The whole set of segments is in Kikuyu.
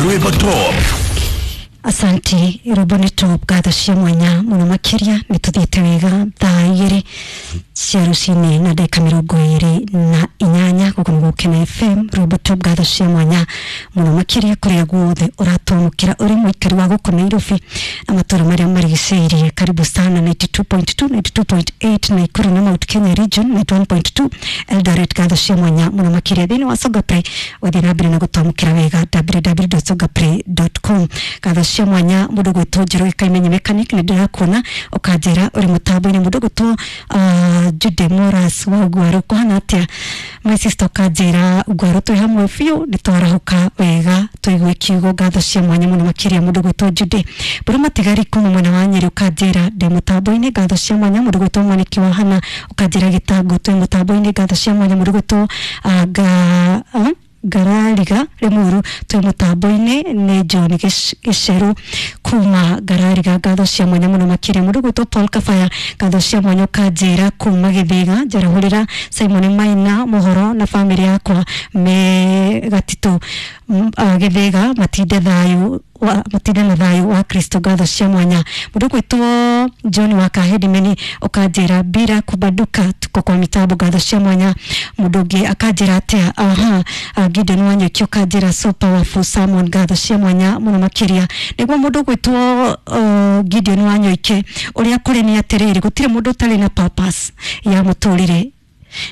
Rwimbo Top. Asanti, rwimbo nĩ top, ngatho cia mwanya mũno makĩria. Nĩ tũthiĩte wega thaa 2 cia rũcinĩ na ndagĩka 28, gũkũ nĩ Gũkena FM, rwimbo top, ngatho cia mwanya mũno makĩria kũrĩa guothe ũratwamũkĩra ũrĩ mũikari wa gũkũ Nairobi na matũra marĩa marigicĩirie. Karibu sana 92.2, 92.8 Nakuru na Mount Kenya region, 91.2 Eldoret, ngatho cia mwanya mũno makĩria. Thĩinĩ wa Songa Play, ũgathiĩ na mbere na gũtwamũkĩra wega www.songaplay.com. Ngatho cia mwanya mũndũ gwĩtwo Njoro Gĩkaimenye mechanic, nĩ ndĩrakuona ũkanjĩra ũrĩ mũtambo-inĩ. Mũndũ gwĩtwo Jude Moras wa Ugwaru, kũhana atĩa my sister? Ũkanjĩra Ugwaru twĩ hamwe biũ, nĩ twarahũka wega tũigue kiugo, ngatho cia mwanya mũno makĩria mũndũ gwĩtwo Jude Mbũrũ Matigari kuma mwena wa Nyĩrĩ, ũkanjĩra ndĩ mũtambo-inĩ, ngatho cia mwanya. Mũndũ gwĩtwo Mwaniki wa Hana, ũkanjĩra Gĩtango twĩ mũtambo-inĩ, ngatho cia mwanya. Mũndũ gwĩtwo ga Ngarariga Limuru twĩ mũtambo-inĩ, nĩ John Gĩceru kuma Ngarariga, ngatho cia mwanya mũno makĩria. Mũndũ gwĩtwo Paul Kabaya, ngatho cia mwanya, ũkanjĩra kuma Gĩthĩga, njarahũrĩra Simon Maina mũhoro na bamĩrĩ yakwa me Gatitũ, Gĩthĩga, matinde thayũ matinde na thayũ wa Kristo, ngatho cia mwanya. Mũndũ gwĩtwo John wa Kahedimeni, ũkanjĩra bila kubanduka tuko kwa mitambo, ngatho cia mwanya. Mũndũ ũngĩ akanjĩra atĩa? Aha, Gideon Wanyeki, ũkanjĩra so powerful sermon, ngatho cia mwanya mũno makĩria. Nĩguo mũndũ gwĩtwo Gideon Wanyoike, ũrĩa kũrĩ nĩ atĩrĩrĩ, gũtirĩ mũndũ ũtarĩ na purpose ya mũtũrĩre,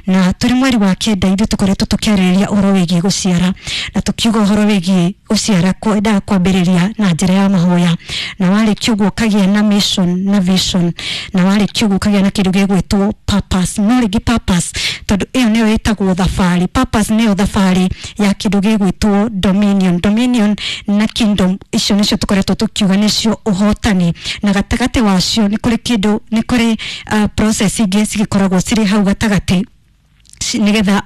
na tũrĩ mweri wa 9 ithuĩ tũkoretwo tũkĩarĩrĩria ũhoro wĩgiĩ gũciara, na tũkiuga ũhoro wĩgiĩ gũciara kwendaga kwambĩrĩria na njĩra ya mahoya, na warĩkia ũguo ũkagĩa na mission na vision, na warĩkia ũguo ũkagĩa na kĩndũ gĩgwĩtwo purpose. No rĩngĩ purpose, tondũ ĩyo nĩyo ĩtagwo thabarĩ, purpose nĩyo thabarĩ ya kĩndũ gĩgwĩtwo dominion. Dominion na kingdom, icio nĩcio tũkoretwo tũkiuga nĩcio ũhotani, na gatagatĩ wacio nĩ kũrĩ kĩndũ, nĩ kũrĩ process ingĩ cigĩkoragwo cirĩ hau gatagatĩ nĩgetha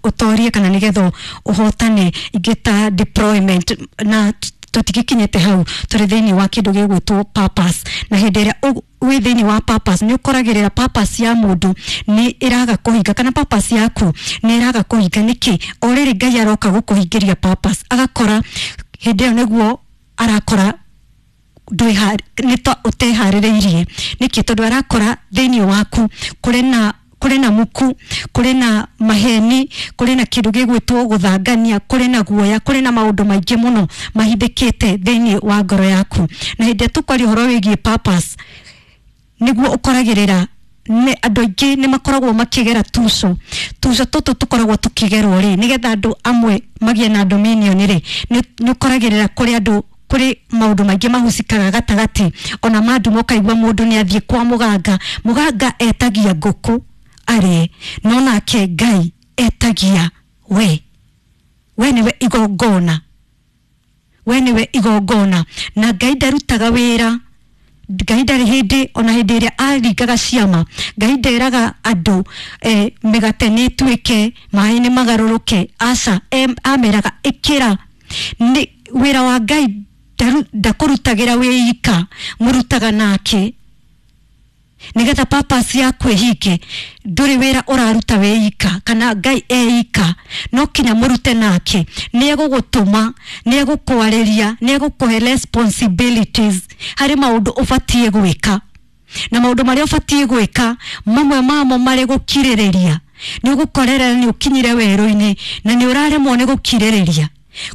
ũtorie kana nĩgetha ũhotane, ingĩ ta deployment, na tũtigĩkinyĩte hau, tũrĩ thĩinĩ wa kĩndũ gĩgwĩtwo purpose. Na hĩndĩ ĩrĩa wĩ thĩinĩ wa purpose, nĩ ũkoragĩrĩra purpose ya mũndũ nĩ ĩraga kũhinga kana purpose yaku nĩ ĩraga kũhinga nĩkĩ. O rĩrĩ Ngai aroka gũkũhingĩria purpose, agakora hĩndĩ ĩyo nĩguo arakora nĩ ta ũteharĩrĩirie. Nĩkĩ? Tondũ arakora thĩinĩ waku kũrĩ na muku, kũrĩ na maheni, kũrĩ na kĩndũ gĩgwĩtwo gũthangania, kũrĩ na guoya, kũrĩ na maũndũ maingĩ mũno mahithĩkĩte thĩinĩ wa ngoro yaku. Na hĩndĩ ĩrĩa tũkwaria ũhoro wĩgiĩ purpose, nĩguo ũkoragĩrĩra nĩ andũ aingĩ nĩ makoragwo makĩgera tuco. Tuco tũtũ tũkoragwo tũkĩgerwo rĩ nĩgetha andũ amwe magĩe na dominion rĩ, nĩ ũkoragĩrĩra kũrĩ andũ, kũrĩ maũndũ maingĩ mahucikaga gatagatĩ, ona manduma ũkaigua mũndũ nĩ athiĩ kwa mũganga. Mũganga etagia ngũkũ arĩe, no nake Ngai etagia we. We nĩwe igongona, we nĩwe igongona, na Ngai ndarutaga wĩra. Ngai ndarĩ hĩndĩ, ona hĩndĩ ĩrĩa aringaga ciama, Ngai nderaga andũ mĩgate nĩ ĩtuĩke, maĩ nĩ magarũrũke. Aca, ameraga ĩkĩra. Nĩ wĩra wa Ngai, ndakũrutagĩra wĩ ika, mũrutaga nake nigetha purpose yaku ĩhinge. Ndũrĩ wĩra ũraruta wĩ ika kana Ngai e ika, no kinya mũrute nake. Nĩ egũgũtũma, nĩ egũkwarĩria, nĩ egũkũhe responsibilities harĩ maũndũ ũbatiĩ gwĩka, na maũndũ marĩa ũbatiĩ gwĩka mamwe mamo marĩ gũkirĩrĩria. Nĩ ũgũkorerera nĩ ũkinyire werũ-inĩ na nĩ ũraremwo nĩ gũkirĩrĩria.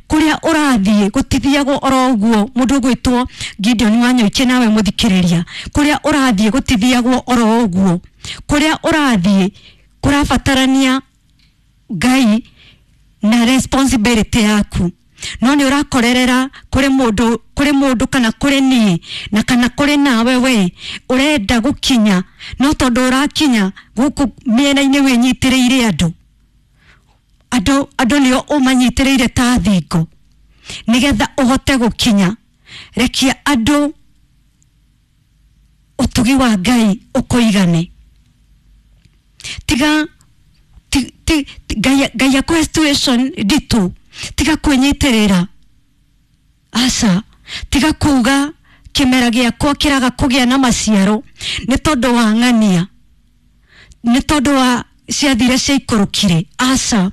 Kũrĩa ũrathiĩ gũtithiagwo oro ũguo. Mũndũ ũgwĩtwo Gideon Wanyoike, nawe mũthikĩrĩria, kũrĩa ũrathiĩ gũtithiagwo oro ũguo. Kũrĩa ũrathiĩ kũrabatarania Ngai na responsibility yaku, no nĩ ũrakorerera kũrĩ mũndũ, kũrĩ mũndũ kana kũrĩ niĩ na kana kũrĩ nawe, we ũrenda gũkinya, no tondũ ũrakinya gũkũ mĩena-inĩ wĩnyitĩrĩire andũ, andũ nĩo ũmanyitĩrĩire ta thingo nĩgetha ũhote gũkinya. Rekia andũ, ũtugi wa Ngai ũkũigane. Tiga Ngai akũhe situation nditũ, tiga kwĩnyitĩrĩra. Aca, tiga kuga kĩmera gĩakwa kĩraga kũgĩa na maciaro nĩ tondũ wa ng'ania, nĩ tondũ wa ciathire ciaikũrũkire. Aca,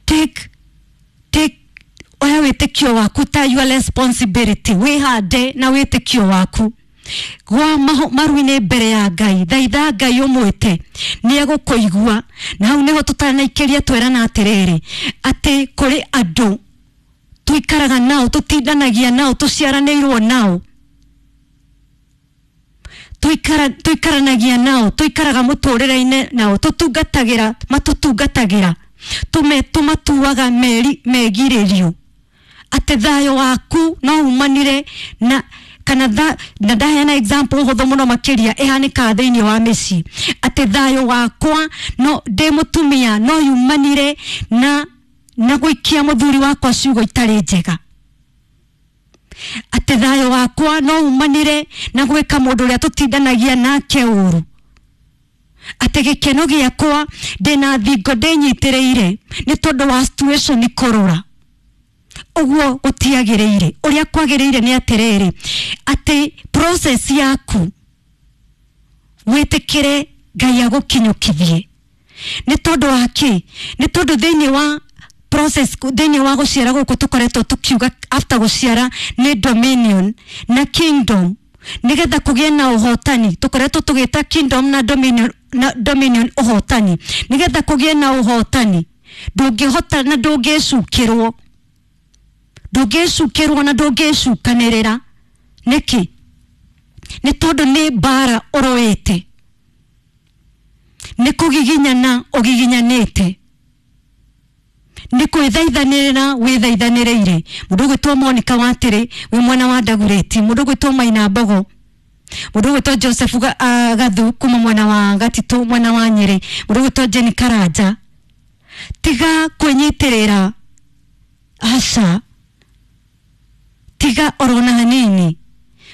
take Oya wĩtĩkio waku ta your responsibility, wĩhande na wĩtĩkio waku. Gwa maru-inĩ mbere ya Ngai, thaitha Ngai ũmwĩte, nĩ egũkũigua. Na hau nĩho tũtanaikĩria twerana atĩrĩrĩ, atĩ kũrĩ andũ tuikaraga nao, tutindanagia nao, tuciaranĩirwo nao, tuikaranagia nao, tuikaraga mũtũrĩre-inĩ nao, tũtungatagĩra, matũtungatagĩra, tũmatuaga megirĩrio atĩ thayũ waku no umanire na kana na ndaheana example hũthũ mũno makĩria ĩhanĩkaga thĩinĩ wa mĩciĩ, atĩ thayũ wakwa no ndĩ mũtumia no yumanire na gũikia mũthuri wakwa ciugo itarĩ njega, atĩ thayũ wakwa no umanire na gwĩka mũndũ ũrĩa tũtindanagia nake ũru, atĩ gĩkeno gĩakwa ndĩna thingo ndĩnyitĩrĩire nĩ tondũ wa situation kũrũra. Ũguo gũtiagĩrĩire. Ũrĩa kwagĩrĩire nĩ atĩrĩrĩ, atĩ process yaku wĩtĩkĩre Ngai agũkinyũkithie. Nĩ tondũ wa kĩ? Nĩ tondũ thĩinĩ wa process, thĩinĩ wa gũciara gũkũ tũkoretwo tũkiuga after gũciara nĩ dominion na kingdom, nĩgetha kũgĩe na ũhotani. Tũkoretwo tũgĩta kingdom na dominion, na dominion ũhotani, nĩgetha kũgĩe na ũhotani ndũngĩhota na ndũngĩcukĩrwo, ndũngĩcukĩrwo na ndũngĩcukanĩrĩra. Nĩkĩ? Nĩ tondũ nĩ mbara ũrũĩte, nĩ kũgiginyana ũgiginyanĩte, nĩ kwĩthaithanĩrĩra wĩthaithanĩrĩire. Mũndũ ũgwĩtwo Monica Watĩrĩ wĩ mwena wa Ndagurĩti, mũndũ ũgwĩtwo Maina Mbogo, mũndũ ũgwĩtwo Joseph Gathu kuma mwena wa Gatitũ, mwena wa Nyĩrĩ, mũndũ ũgwĩtwo Jenny Karanja, tiga kwĩnyitĩrĩra, aca, tiga orona hanini.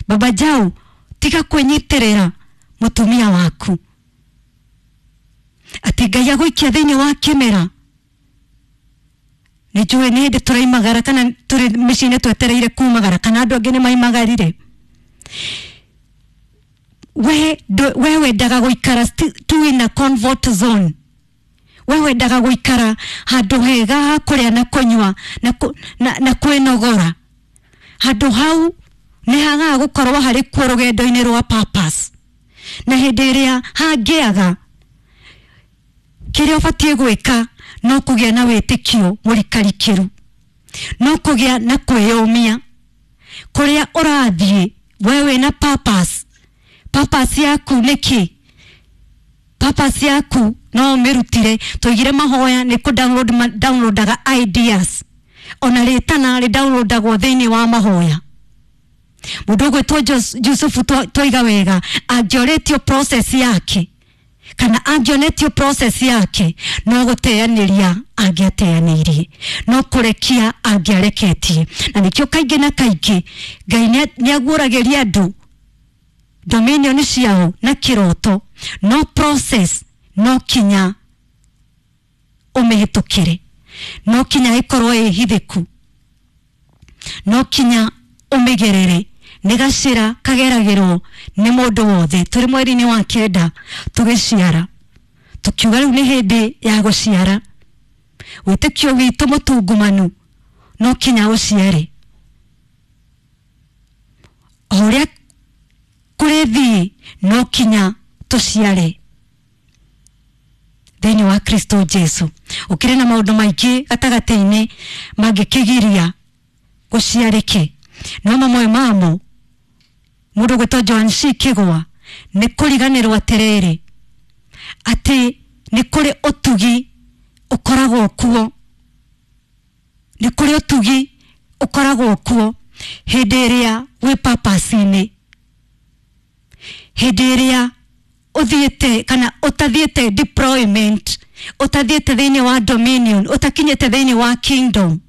Baba Jau, tiga kwĩnyitĩrĩra mũtumia waku atĩ Ngai agũikia thĩinĩ wa kĩmera. Nĩ njũĩ nĩ hĩndĩ tũraimagara kana tũrĩ mĩciĩ-inĩ twetereire kumagara, kana andũ angĩ nĩ maimagarire. We wendaga gũikara tu in a comfort zone. We wendaga gũikara handũ hega ha kũrĩa na kũnyua na kwĩnogora. Handũ hau nĩ hagaga gũkorwo harĩ kuo rũgendo-inĩ rwa purpose. Na hĩndĩ ĩrĩa hangĩaga, kĩrĩa ũbatiĩ gwĩka no kũgĩa na wĩtĩkio mũrikarikĩru, no kũgĩa na kwĩyũmia kũrĩa ũrathiĩ. We wĩna purpose. Purpose yaku nĩ kĩ? Purpose yaku no ũmĩrutire. Tũigire mahoya nĩ kũ download, downloadaga ideas, ona rĩtana rĩ downloadagwo thĩinĩ wa mahoya. Mũndũ ũgwĩtwo Yusufu twaiga wega, angĩorĩtio process yake kana angĩonetio process yake, no gũteanĩria angĩateanĩirie, no kũrekia angĩareketie. Na nĩkĩo kaingĩ na kaingĩ Ngai nĩaguũragĩria andũ dominion ciao na kĩroto, no process no kinya ũmĩhĩtũkĩre, no kinya ĩkorwo ĩ hithĩku, no kinya ũmĩgerere. Nĩ gacĩra kageragĩrwo nĩ mũndũ wothe. Tũrĩ mweri-inĩ wa 9 tũgĩciara, tũkiuga rĩu nĩ hĩndĩ ya gũciara. Wĩtĩkio witũ mũtungumanu no kinya ũciare. O ũrĩa kũrĩthiĩ no kinya tũciare thĩinĩ wa Kristo Jesu. Ũkĩrĩ na maũndũ maingĩ gatagatĩ-inĩ mangĩkĩgiria gũciarĩke, no mamwe mamo mũndũ ũgwĩtwo Joan C. Kĩgwa nĩ kũriganĩrwo atĩrĩrĩ, atĩ nĩ kũrĩ ũtugi ũkoragwo kuo, nĩ kũrĩ ũtugi ũkoragwo kuo hĩndĩ ĩrĩa wĩ purpose-inĩ, hĩndĩ ĩrĩa ũthiĩte kana ũtathiĩte deployment, ũtathiĩte thĩinĩ wa dominion, ũtakinyĩte thĩinĩ wa kingdom.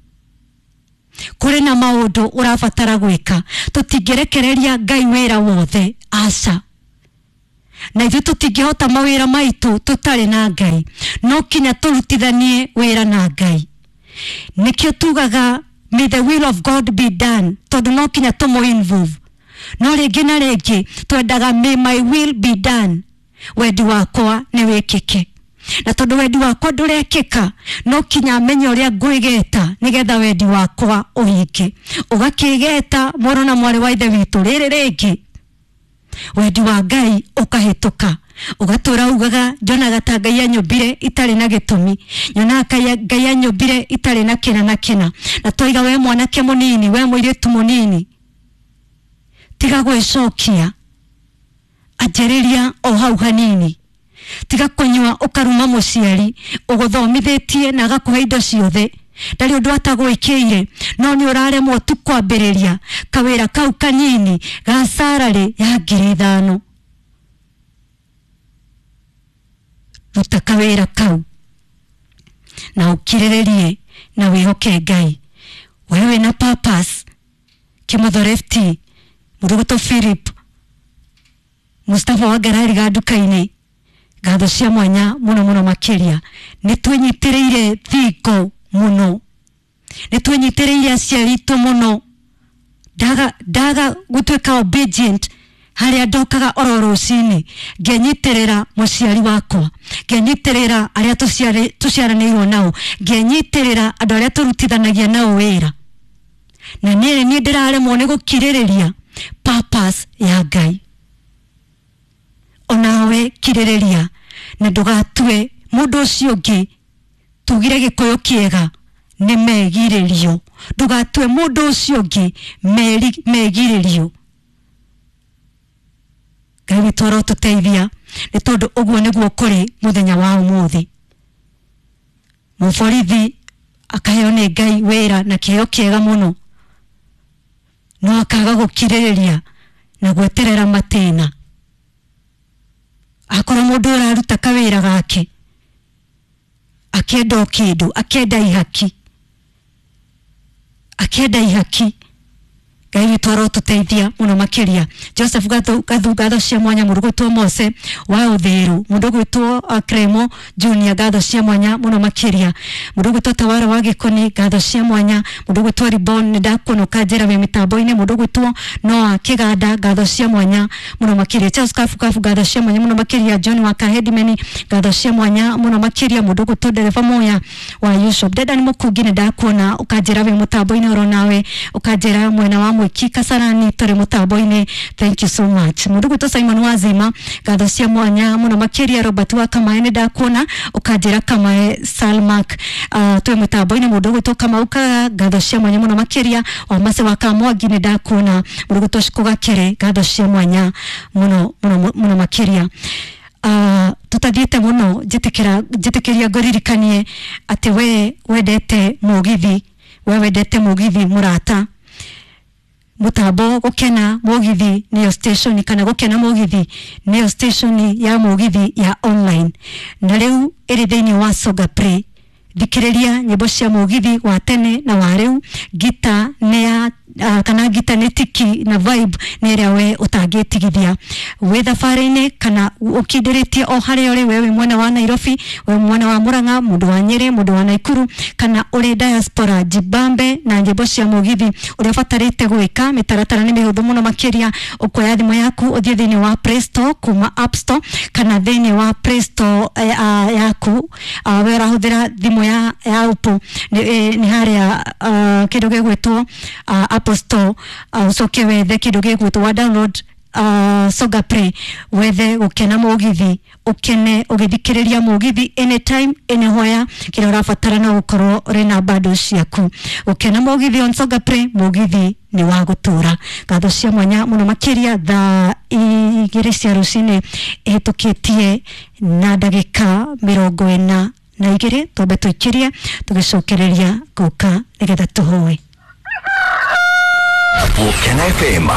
Kũrĩ na maũndũ ũrabatara gwĩka. Tũtingĩrekereria Ngai wĩra wothe, aca. Na ithuĩ tũtingĩhota mawĩra maitũ tũtarĩ na Ngai. No kinya tũrutithanie wĩra na Ngai. Nĩkĩo tugaga may the will of God be done, tondũ no kinya tũmũ involve. No rĩngĩ na rĩngĩ twendaga may my will be done, wendi wakwa nĩ wĩkĩke. Na tondu wendi wakwa ndurekika no kinya menye uria ngwigeta nigetha wendi wakwa uhinge. Ugakigeta muru na mwari wa ithe witu riri ringi wendi wa Ngai ukahituka. Ugatura ugaga njonaga ta Ngai anyumbire itari na gitumi, nyonaga Ngai anyumbire itari na kina na kina. Na twaiga we mwanake munini, we muiritu munini, tiga gwicokia, anjĩrĩria o hau hanini. Tiga kunyua ukaruma muciari uguthomithitie na agakuhe indo ciothe, ndari undu atagwikiire, no ni uraremwo tu kwambĩrĩria kawĩra kau kanini ga salary ya 5,000. Ruta kawĩra kau na ukirĩrĩrie na wĩhoke Ngai. Wewe na purpose. Kimotho Lefty, Muruguto Philip, Mustafa wa Ngarari ga nduka-inĩ, ngatho cia mwanya muno muno makiria. Nĩ twĩnyitĩrĩire thingo muno, nĩ twĩnyitĩrĩire aciari aitũ muno. Ndaga gutuĩka obedient harĩa ndokaga oro rũcinĩ, ngenyitĩrĩra mũciari wakwa, ngenyitĩrĩra arĩa tũciaranĩirwo nao, ngenyitĩrĩra andũ arĩa tũrutithanagia nao wĩra. Na niĩ niĩ ndĩraremwo nĩ gũkirĩrĩria purpose ya Ngai. Onawe kirĩrĩria na ndũgatue mũndũ ũcio ũngĩ. Tugire Gĩkũyũ kĩega nĩ megirĩrio, ndũgatue mũndũ ũcio ũngĩ megirĩrio. Ngai witũ arotũteithia, nĩ tondũ ũguo nĩguo kũrĩ mũthenya wa ũmũthĩ. Mũborithi akaheo nĩ Ngai wĩra na kĩheo kĩega mũno, no akaga gũkirĩrĩria na gweterera matĩna. Akorwo mũndũ ũraruta kawĩra gake akĩenda o kĩndũ, akĩenda ihaki, akĩenda ihaki. Ngai witũ arotũteithia mũno makĩria. Joseph Gathu ngatho cia mwanya, mũndũ gwĩtwo Mose wa Ũthĩrũ, mũndũ gwĩtwo Kremo Junior ngatho cia mwanya mũno makĩria, mũndũ gwĩtwo Tawara wa Gĩkoni ngatho cia mwanya, mũndũ gwĩtwo Ribon nĩ ndakuona ũkanjĩra wĩ mĩtambo-inĩ, mũndũ gwĩtwo Noah Kĩganda ngatho cia mwanya mũno makĩria, Charles Kafu Kafu ngatho cia mwanya mũno makĩria, John wa Kahedimeni ngatho cia mwanya mũno makĩria, mũndũ gwĩtwo Dereva Moya wa Yusuf Dedan Mũkungi nĩ ndakuona ũkanjĩra wĩ mũtambo-inĩ oro nawe ũkanjĩra mwena wa Mwiki Kasarani tũrĩ mũtambo-inĩ, thank you so much. Mũndũ gwĩtwo Simon Wazima ngatho cia mwanya mũno makĩria, Robert wa Kamae nĩ ndakuona ũkanjĩra Kamae Salmak twĩ mũtambo-inĩ, mũndũ gwĩtwo Kamau Kaga ngatho cia mwanya mũno makĩria, Wamase wa Kamwangi nĩ ndakuona, mũndũ gwĩtwo Shiko Gakere ngatho cia mwanya mũno mũno mũno makĩria. Tutathiĩte mũno, njĩtĩkĩria ngũririkanie atĩ we wendete mũgithi, we wendete mũgithi mũrata, mutambo gukena mugithi niyo station kana gukena mugithi niyo station ya mugithi ya online, na riu iri thiini wa Songa Play. Thikiriria nyimbo cia mugithi wa tene na wa riu, gita ni ya kana gita nĩ tiki na vibe nĩ ĩrĩa we ũtangĩtigithia wĩ thabarĩ-inĩ kana ũkindĩrĩtie o harĩa ũrĩ, we wĩ mwena wa Nairobi, we mwena wa Murang'a, mũndũ wa Nyĩrĩ, mũndũ wa Naikuru, kana ũrĩ diaspora. Jibambe na nyĩmbo cia mũgithi. Ũrĩa ũbatarĩte gwĩka, mĩtaratara nĩ mĩhũthũ mũno makĩria. Ũkuoya thimũ yaku ũthiĩ thĩinĩ wa Play Store kuma App Store kana thĩinĩ wa Play Store yaku, we ũrahũthĩra thimũ ya Apple nĩ harĩa kĩndũ gĩgwĩtwo Apple Store, ucoke wethe kĩndũ gĩgwĩtwo wa download Songa Play, wethe gukena mũgithi, ukene ũgĩthikĩrĩria mũgithi anytime anywhere. Kĩrĩa ũrabatara no gũkorwo ũrĩ na bundles ciaku. Gũkena mũgithi on Songa Play, mũgithi nĩ wa gũtũra. Ngatho cia mwanya mũno makĩria. Thaa 2 cia rũcinĩ ĩhĩtũkĩtie na ndagĩka 42, twambe tũikĩrie tũgĩcokereria gũka nĩgetha tũhoe. Gukena FM.